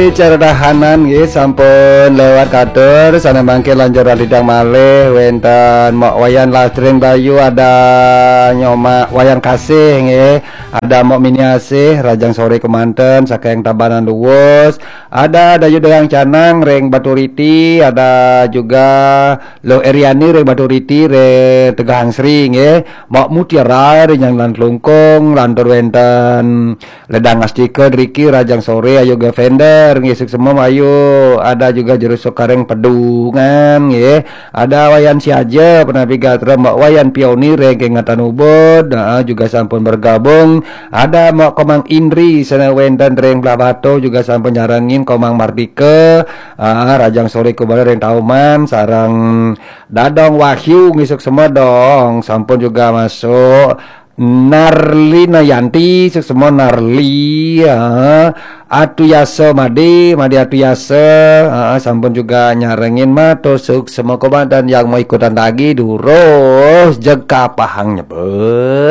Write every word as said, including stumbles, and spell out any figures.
Cara dahanan nggih sampun lewat katur, sana mangke lanjur lidang malih wenten Mok Wayan Lastring Bayu, ada Nyoma Wayan Kasih nggih, ada Mok Miniasih, rajang sore kemanten saking Tabanan Luwus, ada Dayu Degang Canang ring Baturiti, ada juga Lo Eriani ring Baturiti ring Tegahang Sri nggih, Mok Mutiara ring Nyanglan Klungkung, lantur wenten Ledang Astika driki rajang sore Ayu Gavender nggih, suksma Ayu, ada juga Jero Sukaring Pedungan nggih, ada Wayan Siaja, Penapi Gatra, Mbak Wayan Pioni ring Kengatan Ubud, nah, juga sampun bergabung, ada Mbak Komang Indri sana wenten ring Blahbatuh juga sampun nyarengin Komang Mardika, ah, rajang sore kebale ring Tauman, sareng Dadong Wahyu nggih, suksma dong, sampun juga masuk. Narlina Yanti, suksma Narli, ya. Atu Yasa Made, Made Atu Yasa, ah, sampun juga nyarengin, matur suksma kemanten, yang mau ikutan lagi durus jeg kapahang nyebut.